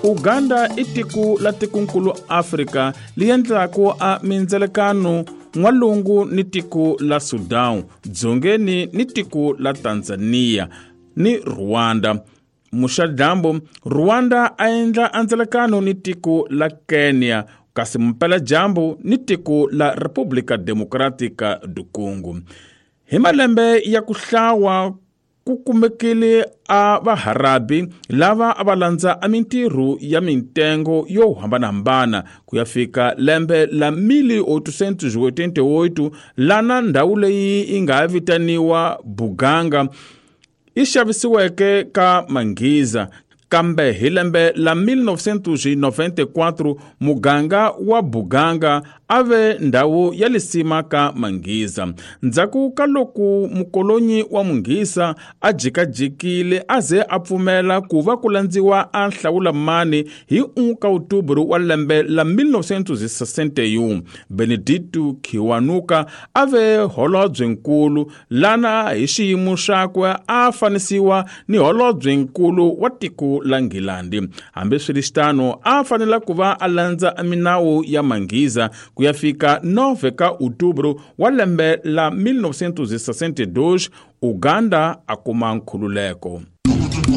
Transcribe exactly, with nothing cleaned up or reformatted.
Uganda i tiko la tikonkulu Afrika li endlaku a mindzelekano n'walungu ni tiko la Sudan, dzongeni ni tiko la Tanzania ni Rwanda. Muxadyambu Rwanda a endla andzelekano ni tiko la Kenya, kasi mpeladyambu ni tiko la República Democrática do Congo. Hi malembe ya ku hlawa ku kumekile a vaharabi lava a va landza a mintirho ya mintengo yo hambanahambana ku ya fika lembe la mil oitocentos e oitenta e oito, lana ndhawu leyi yi nga vitaniwa Buganga yi xavisiweke ka Manghiza. Kambe hi lembe la mil novecentos e noventa e quatro muganga wa Buganga a ve ndhawu ya lisima ka Manghiza. Ndzhaku ka loko mukolonyi wa Munghisa a jikajikile a ze a pfumela ku va ku landziwa a hlawulamani hi un ka Outubro wa lembe la mil novecentos e sessenta e um, Benedito Kiwanuka a ve holobyenkulu lana hi xiyimo xakwe a fanisiwa ni holobyenkulu wa tiko la Nghilandi. Hambiswiritano a fanela ku va a landza minawu ya Manghiza ku ya fika nove ka Outubro wa lembe la mil novecentos e sessenta e dois, Uganda a kuma nkhululeko.